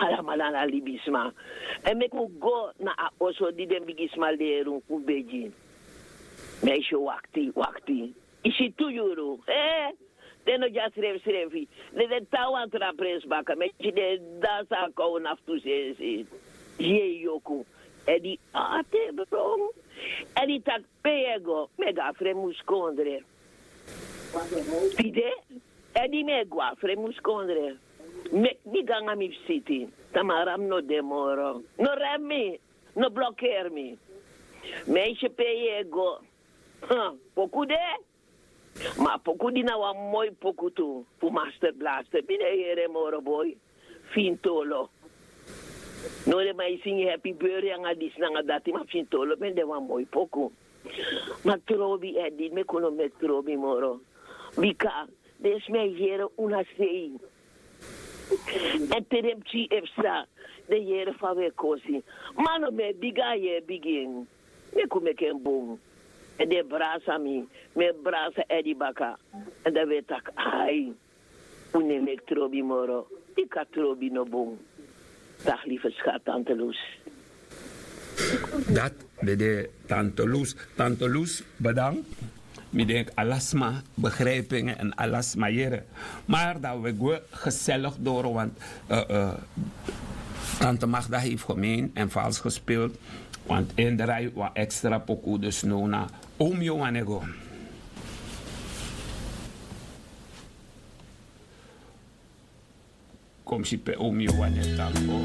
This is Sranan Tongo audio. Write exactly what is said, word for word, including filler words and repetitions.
alamala na libisma. Èn meki un go na a oso di den bigisma leri un fu begi. Mi e si yu wakti wakti. Yu si tu yuru ee. Den no dya srefsrefi. Den de tan wan tra presi baka mi e si den e dansi a kow na fu tu sensi. Yei yoku. Èn di ati e bron. Èn di taki pe yu e go? Mi e go a fremu skondre. Tide èn di mi e go a fremu skondre. Meki mi go nanga mi fisiti. Tamara mi no de moro. No remi mi. No blokeri mi. Mi e si pe yu e go. Poku de. Ma a poku di na wan moi poku tu fu master blaster mi no e yere moro boi. Fintolo. No den man e singi happy beri nanga disi nanga dati ma fintolo ben de wan moi poku. Ma trobi èn di meki un no meki trobi moro. Bika den sma e yere un na sei. Èn te den pikin e psa den yere fa un e kosi. Ma no mi e bigi a yere bigin. Meki un meki en bun. Èn den e brasa mi. Mi e brasa èdi baka. Èn dan un e taki ai. Un no e meki trobi moro. Bika trobi no bun. Dagi life skat tante lus. Dati ben de tante lus. Tante lus, bedank. Mi denki ala sma begripi en èn ala sma yere. Mari dan wi e gwe geseligi doro want tante magda heifti gemein èn fals gespildi. Want en drai wan ekstra poku dus no na. Omi yu wan e go. Kom si pe omi yu wan e tango.